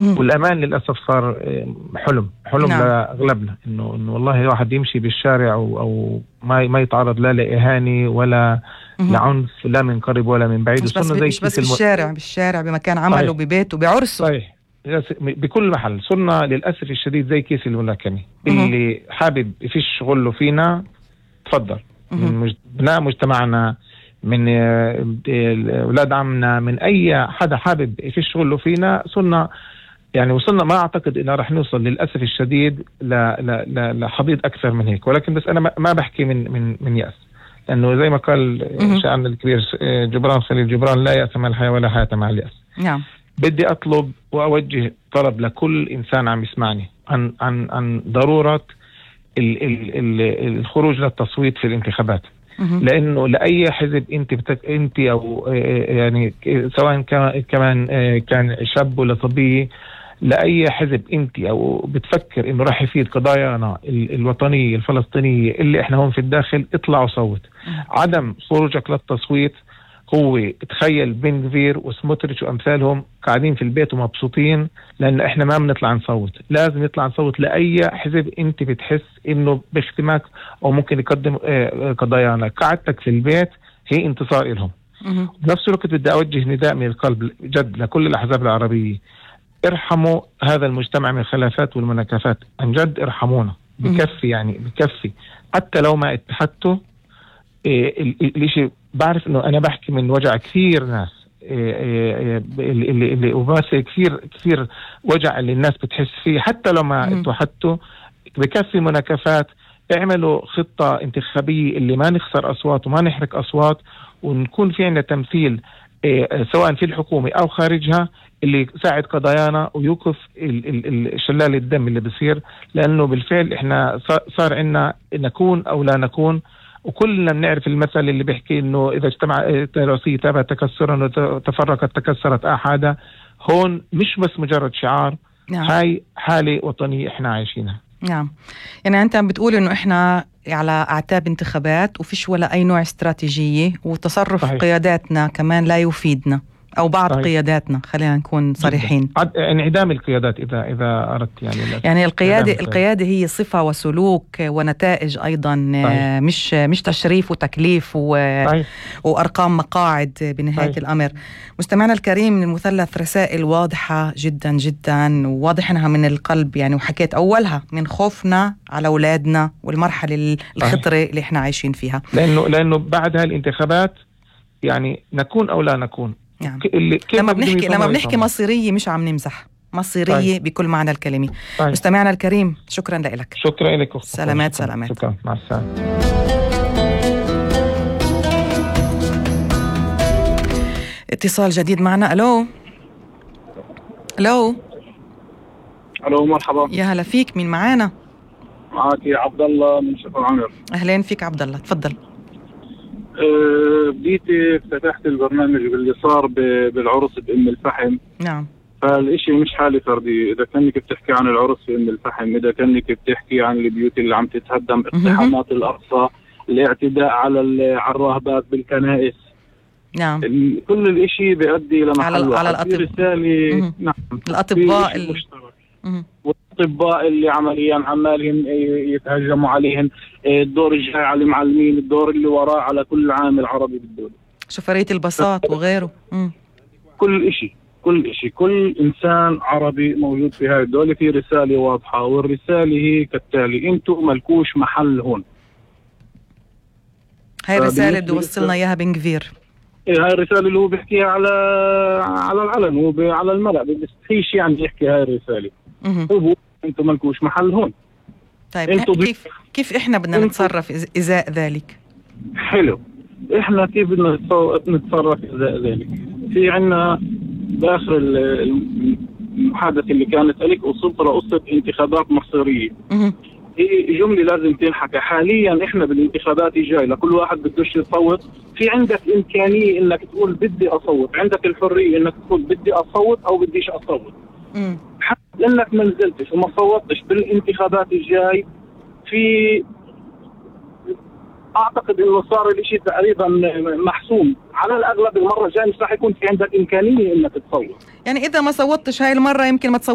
والأمان للأسف صار حلم نعم. لأغلبنا إنه والله واحد يمشي بالشارع أو ما يتعرض لا لإهانة ولا لعنف، لا من قريب ولا من بعيد. مش بس بالشارع بمكان عمله، ببيته، بعرسه. صحيح، بكل محل. صرنا للأسف الشديد زي كيس الملاكمة، اللي حابب يفش غله فينا تفضل. من بناء مجتمعنا، من أولاد عمنا، من أي حدا حابب يفش غله فينا. صرنا يعني وصلنا، ما أعتقد إنه رح نوصل للأسف الشديد لحضيض أكثر من هيك. ولكن بس أنا ما بحكي من يأس، لأنه زي ما قال شاعرنا الكبير جبران خليل جبران: لا يأس مع الحياة ولا حياة مع اليأس. نعم. بدي أطلب وأوجه طلب لكل إنسان عم يسمعني عن ضرورة الخروج للتصويت في الانتخابات. لأنه لأي حزب أنت أو يعني سواء كان شاب ولا صبي، لأي حزب أنت أو بتفكر إنه راح يفيد قضايانا الوطنية الفلسطينية اللي إحنا هون في الداخل، اطلع وصوت. عدم خروجك للتصويت هو، تخيل بن غفير وسموتريتش وأمثالهم قاعدين في البيت ومبسوطين، لأن إحنا ما بنطلع نصوت. لازم نطلع نصوت لأي حزب أنت بتحس إنه باختماك أو ممكن يقدم قضايانا. قعدتك في البيت هي انتصار إلهم. بنفس الوقت بدي أوجه نداء من القلب جد لكل الأحزاب العربية: ارحموا هذا المجتمع من الخلافات والمناكفات، عن جد ارحمونا. بكفي، يعني بكفي. حتى لو ما اتحدتوا الاشي، بعرف انه انا بحكي من وجع كثير ناس، اللي وبس كثير وجع اللي الناس بتحس فيه. حتى لو ما اتوحدتوا، بكفي مناكفات. اعملوا خطة انتخابية اللي ما نخسر أصوات وما نحرق أصوات، ونكون في عندنا تمثيل سواء في الحكومة أو خارجها اللي يساعد قضايانا ويوقف شلال الدم اللي بصير. لأنه بالفعل إحنا صار عنا نكون أو لا نكون. وكلنا بنعرف المثل اللي بيحكي إنه إذا اجتمعت رأسية تابع تكسرا وتفرقت تكسرت أحدا. هون مش بس مجرد شعار. نعم. هاي حالة وطنية إحنا عايشينها. نعم. يعني أنت عم بتقول إنه إحنا على أعتاب انتخابات وفيش ولا أي نوع استراتيجية، وتصرف صحيح. قياداتنا كمان لا يفيدنا، أو بعض صحيح. قياداتنا، خلينا نكون صريحين. انعدام القيادات إذا أردت يعني القيادة هي صفة وسلوك ونتائج أيضا. مش تشريف وتكليف وأرقام مقاعد بنهاية الأمر. مستمعنا الكريم، من المثلث رسائل واضحة جدا جدا، وواضح إنها من القلب يعني، وحكيت أولها من خوفنا على أولادنا والمرحلة الخطرة اللي إحنا عايشين فيها. لأنه بعد هالانتخابات يعني نكون أو لا نكون. نعم. لما بنحكي مصيرية مش عم نمزح، مصيرية بكل معنى الكلمة. مستمعنا الكريم، شكرا لك. شكرا لك. سلامات. شكرا. مع السلامة. اتصال جديد معنا. ألو، مرحبا. يا هلا فيك، مين معانا؟ معك عبد الله من شفر عمر. أهلين فيك عبد الله، تفضل. بديتي فتحت البرنامج باللي صار بالعرس بأم الفحم. نعم. فالإشي مش حالة فردية. إذا كانك بتحكي عن العرس في أم الفحم، إذا كانك بتحكي عن البيوت اللي عم تتهدم، اقتحامات الأقصى، الاعتداء على الراهبات بالكنائس. نعم. كل الإشي بيؤدي لمحل على الأطباء. رسالة. نعم. الأطباء الأطباء اللي عمليا عمالهم يتهجموا عليهم. الدور الجاي على المعلمين، الدور اللي وراه على كل عامل عربي بالدولة، شفرية البساط وغيره. كل إشي كل إنسان عربي موجود في هاي الدولة في رسالة واضحة، والرسالة هي كالتالي: أنتوا ملكوش محل هون. هاي الرسالة اللي وصلنا إياها بن غفير. هاي الرسالة اللي هو بيحكيها على العلن، هو على الملأ، بيستحيش يعني يحكي هاي الرسالة. هو أنتوا ملكوش محل هون. طيب كيف إحنا بدنا نتصرف إزاء ذلك؟ حلو. إحنا كيف بدنا نتصرف إزاء ذلك؟ في عنا بآخر المحادثة اللي كانت لك وصلت لقصة انتخابات مصيرية. هي جملة لازم تنحكى. حاليا إحنا بالانتخابات الجاي لكل واحد بدوش يصوت، في عندك إمكانية إنك تقول بدي أصوت، عندك الحرية إنك تقول بدي أصوت أو بديش أصوت. لأنك ما نزلتش وما صوتش بالانتخابات الجاي، في أعتقد إنه صار الإشي تقريبا محسوم على الاغلب المره الجايه مش راح يكون في عندك امكانيه انك تصوت. يعني اذا ما صوتش هاي المره يمكن ما تصوت